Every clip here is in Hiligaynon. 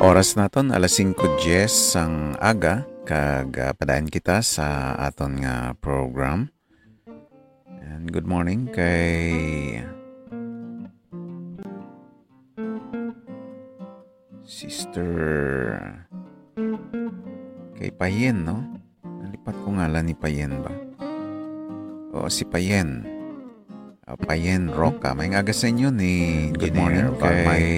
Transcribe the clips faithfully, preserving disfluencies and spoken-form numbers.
Oras naton alas singko diyes sang aga, kag, ah, padayon kita sa aton nga program. And good morning kay Sister, kay Payen, no? Nalipat ko ngalan ni Payen ba? Oo, si Payen. Ah, Payen Roca. Maayong aga sa inyo ni Good Engineer morning kay Balmay.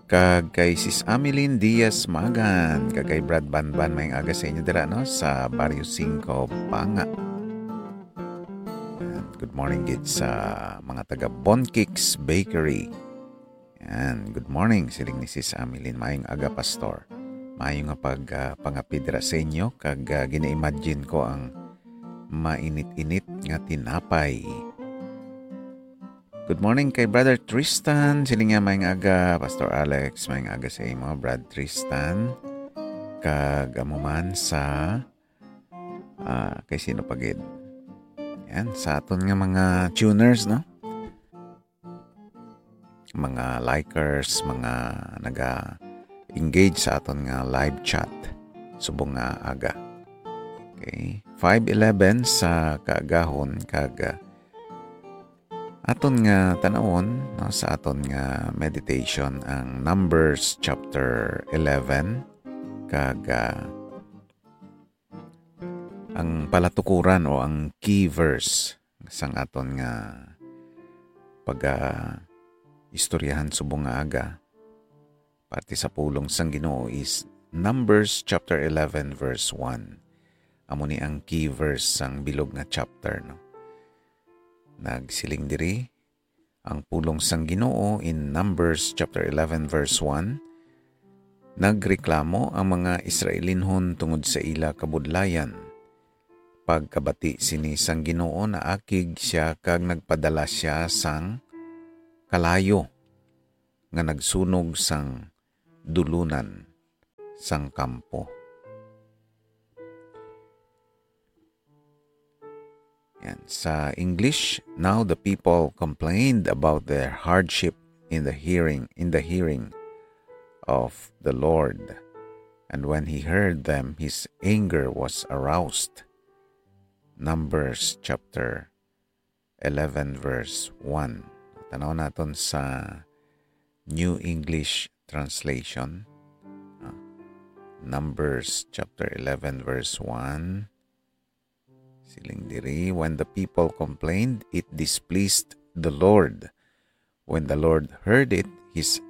Kag kay Sis Ameline Diaz Magan, kag kay Brad Banban, maayong aga sa inyo dira, no, sa Barrio Cinco, Banga. And good morning gid sa mga taga Boncakes Bakery. Yan, good morning, siling ni Sis Ameline. Maayong aga, Pastor. Maayo nga pag, ah, pangapid ra sa inyo, kag, ah, gina-imagine ko ang mainit-init nga tinapay. Good morning kay Brother Tristan. Siling niya, "Maayong aga, Pastor Alex." Maayong aga sa imo, Brad Tristan. Kag amo man sa, ah, kay sino pa gid? Yan, sa aton nga mga tuners, no? Mga likers, mga naga-engage sa aton nga live chat subong nga aga. Okay, five eleven sa kaagahon, kag, ah, aton nga tan-awon, no, sa aton nga meditation ang Numbers chapter eleven, kag, ah, ang palatukuran o ang key verse sang aton nga pag-, ah, istoryahan subong nga aga, parte sa pulong sang Ginoo is Numbers chapter eleven verse one. Amo ni ang key verse sang bilog nga chapter, no? Nagsiling diri ang pulong sang Ginoo in Numbers chapter eleven verse one, "Nagreklamo ang mga Israelinhon tungod sa ila kabudlayan. Pagkabati sini sang Ginoo, naakig sia kag nagpadala sia sang kalayo nga nagsunog sang dulunan sang kampo." Yan. Sa English, "Now the people complained about their hardship in the hearing, in the hearing of the Lord. And when he heard them, his anger was aroused." Numbers chapter eleven verse one. Tanaw naton sa New English Translation. Ah, Numbers chapter eleven verse one. Siling diri, "When the people complained, it displeased the Lord. When the Lord heard it, his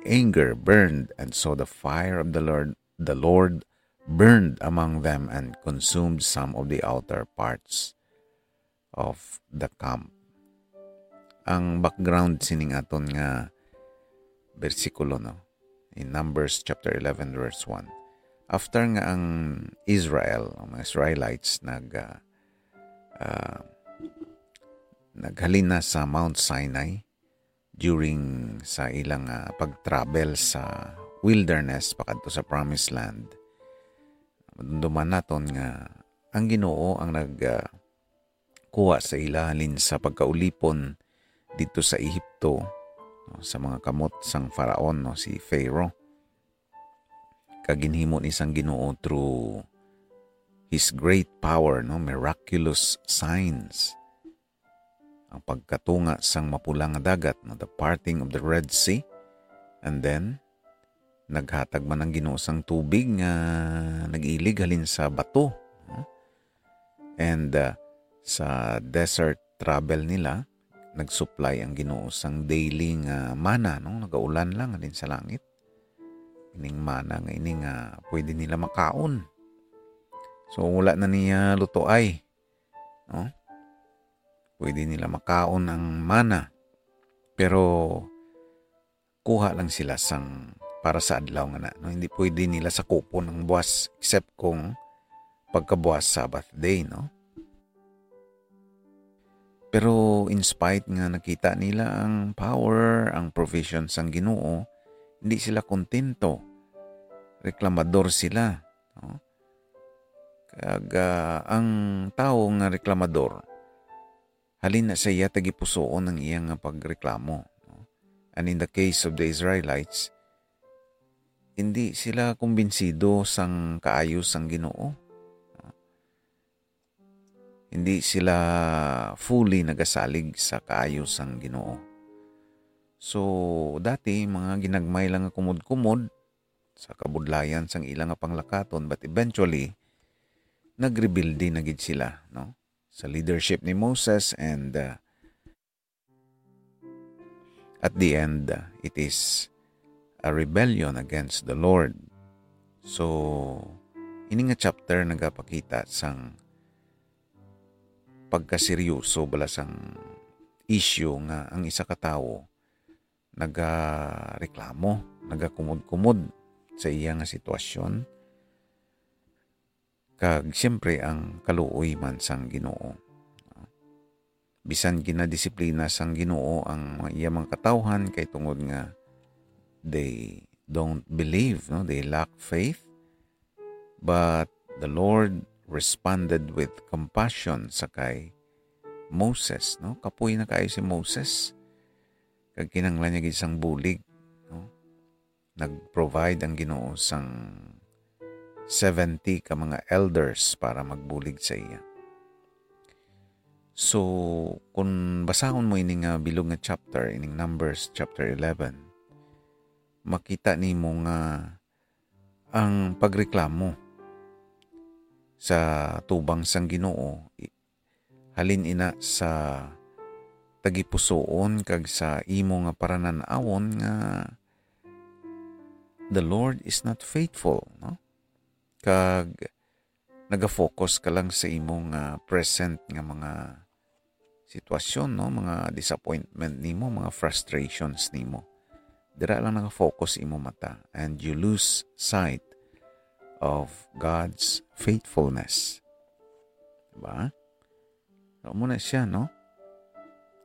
anger burned, and so the fire of the Lord, the Lord burned among them and consumed some of the outer parts of the camp." Ang background sining aton nga bersikulo, no? In Numbers chapter eleven, verse one. After nga ang Israel, ang mga Israelites nag, ah, ah, naghalin na sa Mount Sinai during sa ilang, ah, pag-travel sa wilderness pakadto sa Promised Land, madumduman naton nga ang Ginoo ang nag, ah, kuha sa ila halin sa pagkaulipon didto sa Ehipto, no, sa mga kamot sang Faraon, no, si Pharaoh. Kag ginhimo ni sang Ginoo through his great power, no, miraculous signs. Ang pagkatunga sang Mapula nga Dagat, no, the parting of the Red Sea. And then, naghatag man ang Ginoo sang tubig nga nag-ilig halin sa bato, no? And, uh, sa desert travel nila, nag-supply ang Ginoo sang daily nga mana, no? Nagaulan lang halin sa langit. Ining mana nga ini nga pwede nila makaon. So, wala na niya lutoay, no? Pwede nila makaon ang mana. Pero, kuha lang sila sang para sa adlaw nga na, no? Hindi pwede nila sakupon ang buwas except kung pagkabuwas Sabbath day, no? Pero in spite nga nakita nila ang power, ang provision sang Ginoo, hindi sila kontento. Reklamador sila, no? Kag, ah, ang tawo nga reklamador, halin na sa iya tagipusoon ang iya nga pagreklamo, no? And in the case of the Israelites, hindi sila kumbinsido sang kaayo sang Ginoo. Hindi sila fully nagasalig sa kaayo sang Ginoo. So, dati, mga ginagmay lang nga kumod-kumod sa kabudlayan sang ila nga panglakaton, but eventually, nagrebelde na gid sila, no? Sa leadership ni Moses, and, uh, at the end, uh, it is a rebellion against the Lord. So, ini nga chapter nagapakita sang pagkaseryoso bala sang issue nga ang isa ka tawo nagareklamo, nagakumod-kumod sa iya nga sitwasyon, kag siyempre ang kaluoy man sang Ginoo. Bisan ginadisiplina sang Ginoo ang iya mga katawhan kay tungod nga they don't believe, no? They lack faith. But the Lord responded with compassion sa kay Moses, no? Kapoy na kaayo si Moses. Kag kinahanglan niya gid sang bulig, no? Nag-provide ang Ginoo sang seventy ka mga elders para magbulig sa iya. So, kung basahon mo ini nga bilog nga chapter, ining Numbers chapter eleven, makita nimo nga ang pagreklamo sa tubang sang Ginoo, i-, halin ina sa tagipusoon kag sa imo nga paranan-awon nga the Lord is not faithful, no? Kag nagafocus ka lang sa imo nga present nga mga sitwasyon, no? Mga disappointment nimo, mga frustrations nimo. Dira lang naka-focus imo mata, and you lose sight of God's faithfulness. Diba? So, amo na siya, no?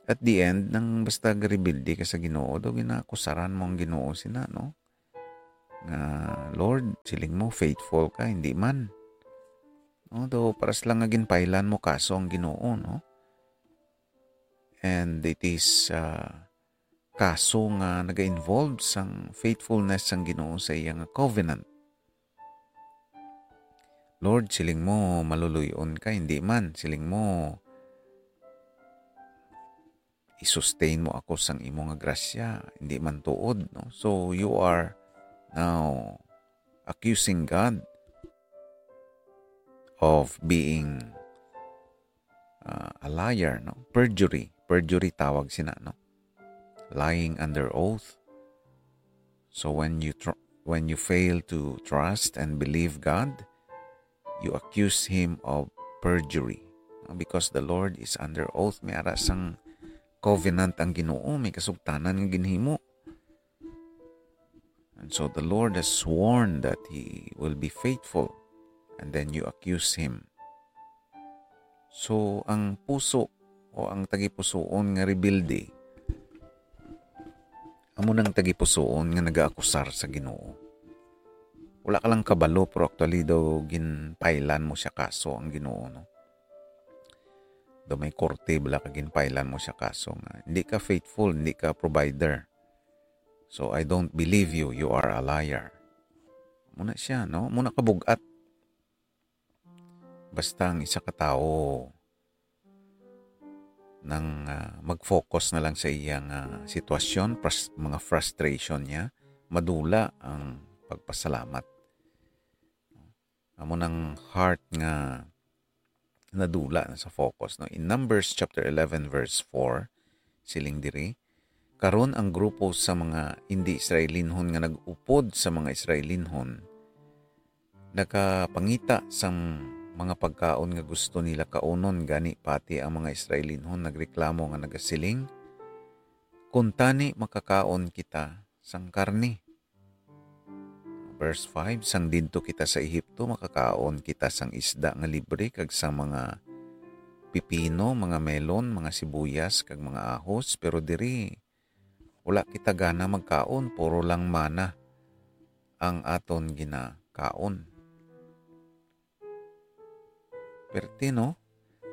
At the end, nang basta garebelde ka sa Ginoo, daw ginakusaran mo ang Ginoo sina, no? Nga, "Lord, siling mo, faithful ka, hindi man." No, daw paras lang nga ginpailan mo kaso ang Ginoo, no? And it is, ah, kaso nga naga-involve sang faithfulness sang Ginoo sa iya nga covenant. "Lord, siling mo, maluluy-on ka, hindi man. Siling mo, i-sustain mo ako sang imo nga grasya, hindi man tuod," no? So, you are now accusing God of being, uh, a liar, no? Perjury. Perjury tawag sina, no? Lying under oath. So, when you tr-, when you fail to trust and believe God, you accuse him of perjury. No? Because the Lord is under oath. May ara sang covenant ang Ginoo, may kasugtanan nga ginhimo. And so the Lord has sworn that he will be faithful, and then you accuse him. So, ang puso o ang tagipusoon nga rebelde, amo nang tagipusoon nga nagaakusar sa Ginoo. Wala ka lang kabalo, pero actually daw ginpailan mo siya kaso ang Ginoo, no? Daw may korte bala ka, ginpailan mo siya kaso nga, "Hindi ka faithful, hindi ka provider. So, I don't believe you, you are a liar." Muna siya, no? Muna ka bugat. Basta ang isa ka tawo nang, ah, mag-focus na lang sa iyang, ah, sitwasyon, pras-, mga frustration niya, madula ang pagpasalamat. Amo nang heart nga nadula na sa focus, no? In Numbers chapter eleven, verse four, siling diri, "Karon ang grupo sa mga indi-Israelinhon nga nag-upod sa mga Israelinhon nakapangita sang mga pagkaon nga gusto nila kaunon, gani pati ang mga Israelinhon nagreklamo nga nagasiling, 'Kuntani makakaon kita sang karne.'" Verse five, "Sang didto kita sa Ehipto, makakaon kita sang isda nga libre kag sang mga pipino, mga melon, mga sibuyas, kag mga ahos, pero diri wala kita gana magkaon, puro lang mana ang aton ginakaon." Perte, no?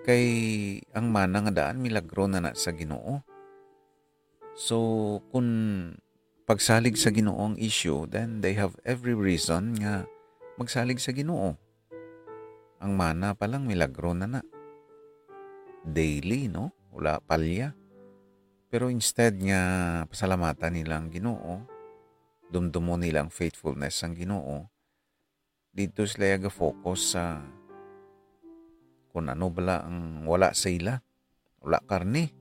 Kay ang mana nga daan, milagro na na sa Ginoo. So, kun pagsalig sa Ginoo ang issue, then they have every reason nga magsalig sa Ginoo. Ang mana pa lang, milagro na na. Daily, no? Wala palya. Pero instead nga pasalamatan nila ang Ginoo, dumdumon nila ang faithfulness sang Ginoo, dito sila ga-focus sa kung ano bala ang wala sa ila. Wala karne.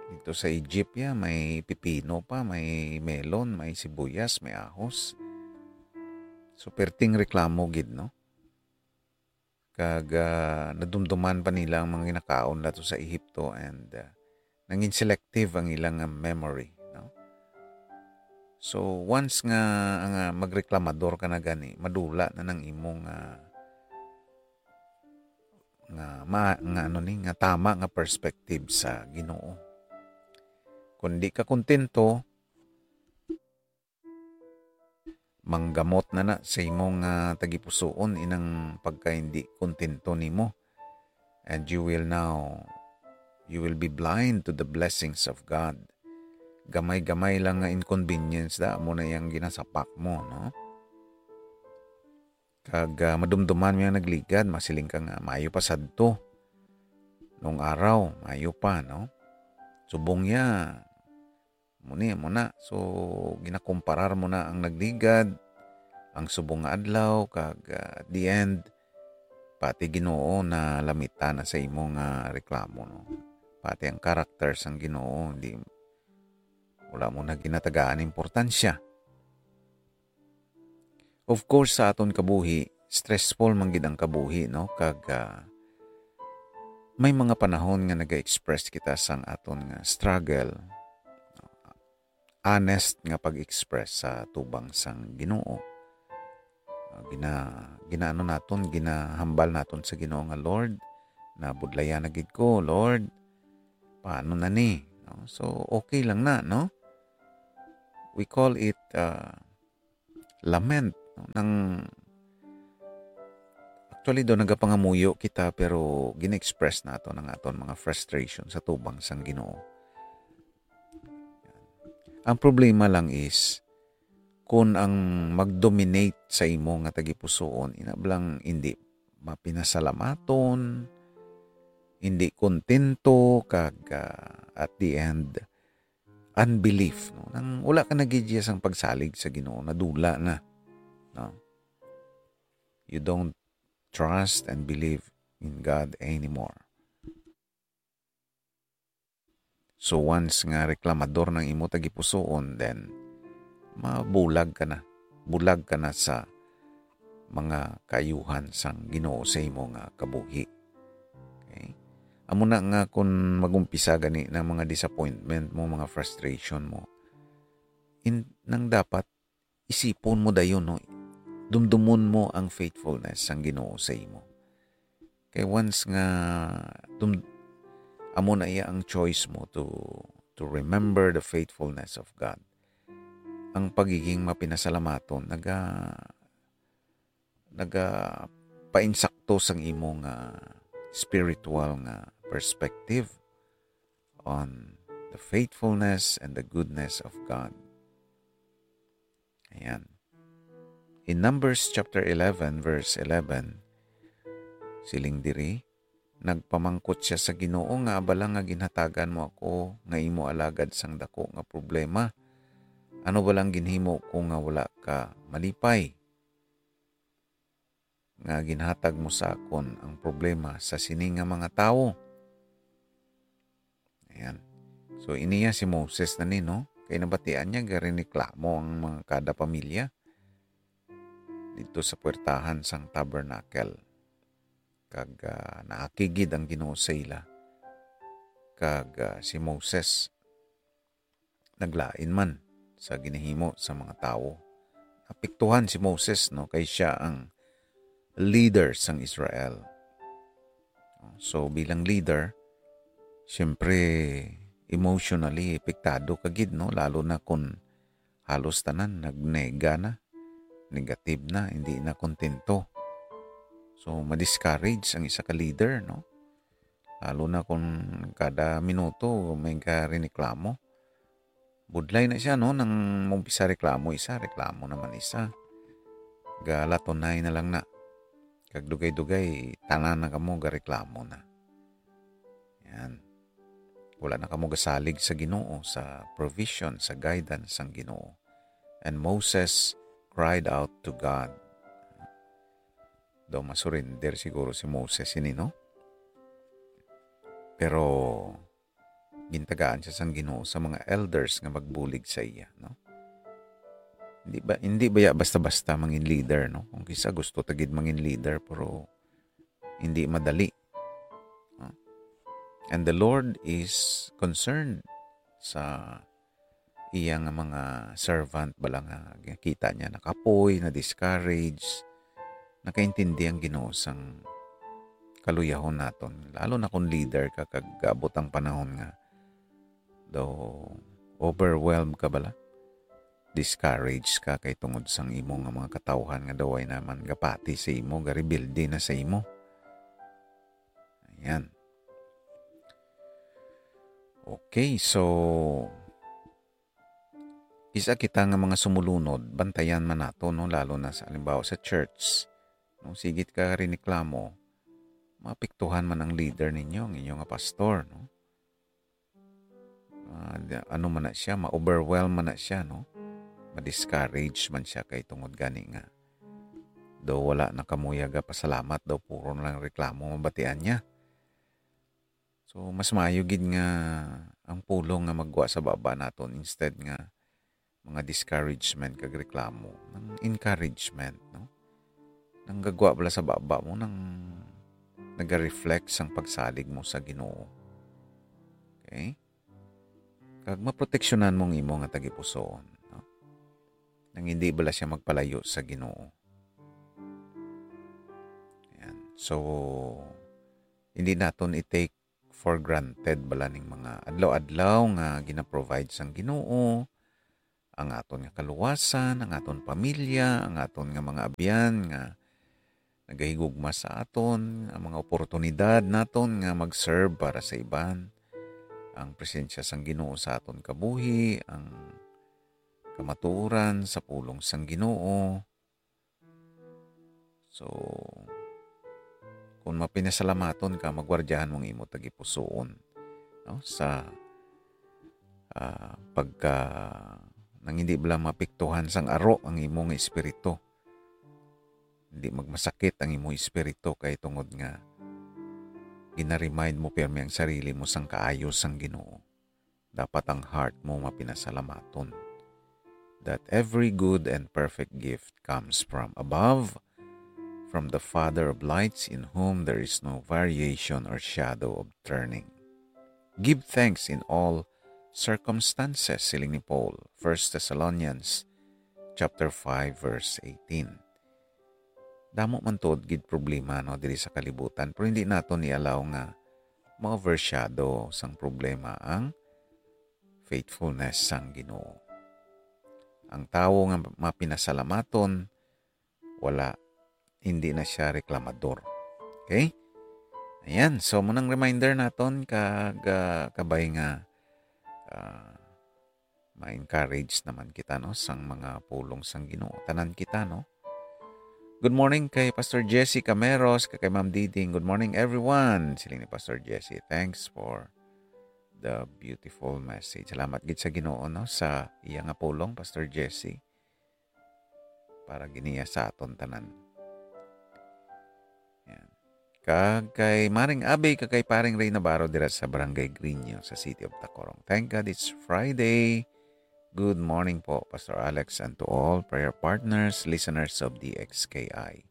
Dito sa Egypt, ya, may pipino pa, may melon, may sibuyas, may ahos. So, perting reklamo gid, no? Kag, ah, nadumduman pa nila ang mga ginakaon nato sa Ehipto, and, ah, nangin selective ang ilang, ah, memory, no? So, once nga, nga magreklamador ka na gani, madula na nang imong, ah, nga ma-, nga ano ni, nga tama nga perspective sa Ginoo. Kung di ka kontento, manggamot na na sa imong, ah, tagipusoon inang pagka hindi kontento nimo. And you will now, you will be blind to the blessings of God. Gamay-gamay lang nga inconvenience da, amo na yang ginasapak mo, no? Kag, ah, madumduman mo yang nagligad, masiling ka nga, "Maayo pa sadto. Nung araw, maayo pa," no? Subong ya, muni, muna. So, ginakomparar mo na ang nagligad, ang subong nga adlaw, kag, ah, at the end, pati Ginoo na lamita na sa imo nga reklamo, no? Pati ang character sang Ginoo, hindi, wala mo na ginatagaan importansya. Of course, sa aton kabuhi, stressful man gid ang kabuhi, no? Kag, ah, may mga panahon nga naga-express kita sang aton nga struggle. Honest nga pag-express sa tubang sang Ginoo. Ah, gina-, ginaano naton, ginahambal naton sa Ginoo nga, "Lord, nabudlayan na gid ko, Lord. Paano na ni?" No? So, okay lang na, no? We call it, ah, lament, no? Nang, actually, do nagapangamuyo kita, pero gina-express naton ang aton mga frustration sa tubang sang Ginoo. Ang problema lang is, kung ang mag-dominate sa imo nga tagipusoon, ina bala nga hindi mapinasalamaton, hindi kontento, kag, ah, at the end, unbelief, no? Nang wala ka na gid sang pagsalig sa Ginoo, nadula na, no? You don't trust and believe in God anymore. So, once nga reklamador nang imo tagipusoon, then mabulag ka na. Bulag ka na sa mga kaayuhan sang Ginoo sa imo nga kabuhi. Okay? Amo na nga, kung mag-umpisa gani ng mga disappointment mo, mga frustration mo, in, nang dapat isipon mo dayon, no? Dumdumon mo ang faithfulness sang Ginoo sa imo. Kay once nga dum-, amo na iya ang choice mo to, to remember the faithfulness of God, ang pagiging mapinasalamaton naga-, nagapainsakto sang imo nga spiritual nga perspective on the faithfulness and the goodness of God. Ayan. In Numbers chapter eleven, verse eleven, siling diri, "Nagpamangkot sia sa Ginoo nga, 'Abala nga ginhatagan mo ako nga imo alagad sang dako nga problema. Ano bala ang ginhimo ko nga wala ka malipay, nga ginhatag mo sa akon ang problema sa sini nga mga tawo?'" Ayan. So, iniya si Moses na ni, no? Kay nabatian niya, garineklamo ang mga kada pamilya dito sa puwertahan sang tabernacle. Kag, ah, naakig gid ang Ginoo sa ila. Kag, ah, si Moses naglain man sa ginahimo sa mga tawo. Apektuhan si Moses, no, kay sia ang leader sang Israel. So, bilang leader, siyempre, emotionally apektado ka gid, no, lalo na kung halos tanan nagnega na, negative na, hindi na kontento. So, ma-discourage ang isa ka leader, no? Lalo na kung kada minuto may ka reklamo. Budlay na siya, no? Nang mumpisa reklamo isa, reklamo naman isa. Galatunay na lang na. Kag dugay-dugay, tanan na kamo gareklamo na. Yan. Wala na kamo gasalig sa Ginoo, sa provision, sa guidance sang Ginoo. And Moses cried out to God. Daw masurrender siguro si Moses ini, no? Pero gintagaan siya sang Ginoo sa mga elders nga magbulig sa iya, no? Hindi ba, hindi ba ya basta-basta mangin leader, no? Kung kisa gusto ta gid mangin leader, pero hindi madali. No? And the Lord is concerned sa iya nga mga servant bala nga kita niya nakapoy, na-discourage, nakaintindi ang Ginoo sang kaluyahon naton. Lalo na kung leader ka kag gaabot ang panahon nga daw overwhelmed ka bala. Discouraged ka kay tungod sang imo nga mga katawhan nga daw ay naman gapati sa imo, garebelde na sa imo. Ayan. Okay, so isa kita nga mga sumulunod, bantayan man nato, no, lalo na sa, halimbawa, sa church. No, sigit ka riniklamo, maapektuhan man ang leader ninyo, ang inyo nga pastor, no? Ah, di-, ano man na siya, ma-overwhelm man na siya, no? Ma-discourage man siya kay tungod gani nga daw wala na kamuya ga pasalamat, daw puro na lang reklamo mabatian niya. So, mas maayo gid nga ang pulong nga magwa sa baba naton instead nga mga discouragement kag reklamo, nang encouragement, no? Nang gagwa bala sa baba mo, nang naga-reflect sang pagsalig mo sa Ginoo. Okay? Kag maproteksyonan mo ang imo nga tagipusoon, no? Nang hindi bala siya magpalayo sa Ginoo. Ayan. So, hindi naton i-take for granted bala ning mga adlaw-adlaw nga gina-provide sang Ginoo, ang aton nga kaluwasan, ang aton pamilya, ang aton nga mga abyan nga nagahigugma sa aton, ang mga oportunidad naton nga mag-serve para sa iban, ang presensya sang Ginoo sa aton kabuhi, ang kamatuoran sa pulong sang Ginoo. So, kung mapinasalamaton ka, magwardyahan mo ang imo tagipusoon, no? Sa, ah, pagka nang hindi bala maapektuhan sang aro ang imo nga espiritu. Hindi magmasakit ang imo espiritu kay tungod nga gina-remind mo pirmi ang sarili mo sang kaayo sang Ginoo. Dapat ang heart mo mapinasalamaton that every good and perfect gift comes from above, from the Father of lights, in whom there is no variation or shadow of turning. Give thanks in all circumstances, siling ni Paul, First Thessalonians chapter five, verse eighteen. Damo man tuod gid problema, no, diri sa kalibutan, pero hindi naton i-allow nga ma-overshadow sang problema ang faithfulness sang Ginoo. Ang tawo nga mapinasalamaton, wala, hindi na siya reklamador. Okay? Ayan, so, munang reminder naton kag, ah, kabay nga, ah, ma-encourage naman kita, no, sang mga pulong sang Ginoo. Tanan kita, no? Good morning kay Pastor Jesse Cameros, kag kay Ma'am Diding. Good morning, everyone. Siling ni Pastor Jesse, thanks for the beautiful message. Salamat gid sa Ginoo, no, sa iya nga pulong, Pastor Jesse, para giniya sa aton tanan. Yan. Kag kay Maring Abe, kag kay Paring Ray Navarro dira sa Barangay Grino, sa City of Tacurong. Thank God it's Friday. Good morning po, Pastor Alex, and to all prayer partners, listeners of D X K I.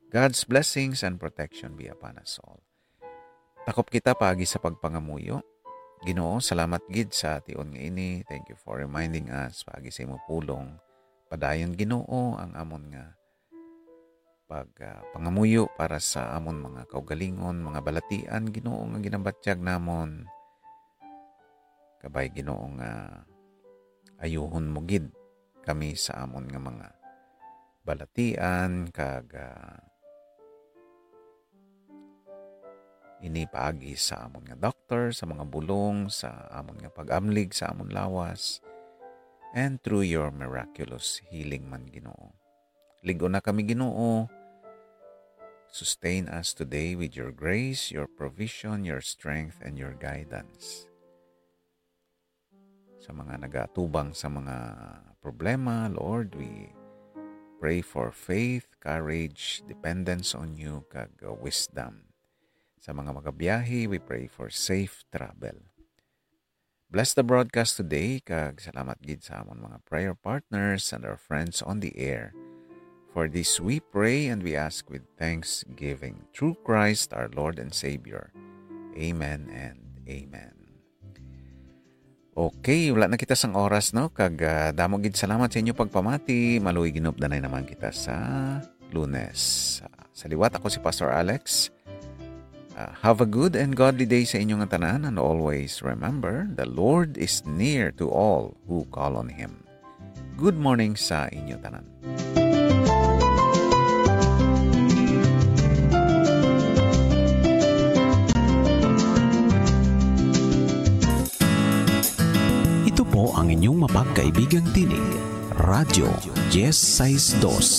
God's blessings and protection be upon us all. Takop kita paagi sa pagpangamuyo. Ginoo, salamat gid sa tion nga ini. Thank you for reminding us paagi sa imo pulong. Padayon, Ginoo, ang amon nga pag, ah, pangamuyo para sa amon mga kaugalingon, mga balatian, Ginoo, nga ginabatyag namon. Kabay, Ginoo, nga ayuhon mo gid kami sa amon nga mga balatian, kag, ah, ini paagi sa amon nga doktor, sa mga bulong, sa amon nga pag-amlig sa amon lawas. and through your miraculous healing man, Ginoo. Lig-on na kami, Ginoo. Sustain us today with your grace, your provision, your strength, and your guidance. Sa mga nagaatubang sa mga problema, Lord, we pray for faith, courage, dependence on you, kag, uh, wisdom. Sa mga magabiyahe, we pray for safe travel. Bless the broadcast today, kag salamat gid sa amon mga prayer partners and our friends on the air. For this we pray and we ask with thanksgiving through Christ our Lord and Savior. Amen and amen. Okay, wala na kita sang oras, no? Kag, ah, damo gid salamat sa inyo pagpamati. Maluoy ginupdanay naman kita sa Lunes. Sa liwat, ako si Pastor Alex. Ah, have a good and godly day sa inyo nga tanan, and always remember, the Lord is near to all who call on Him. Good morning sa inyo tanan. Ito po ang inyong mapagkaibigang tinig, Radyo Diez Seis Dos.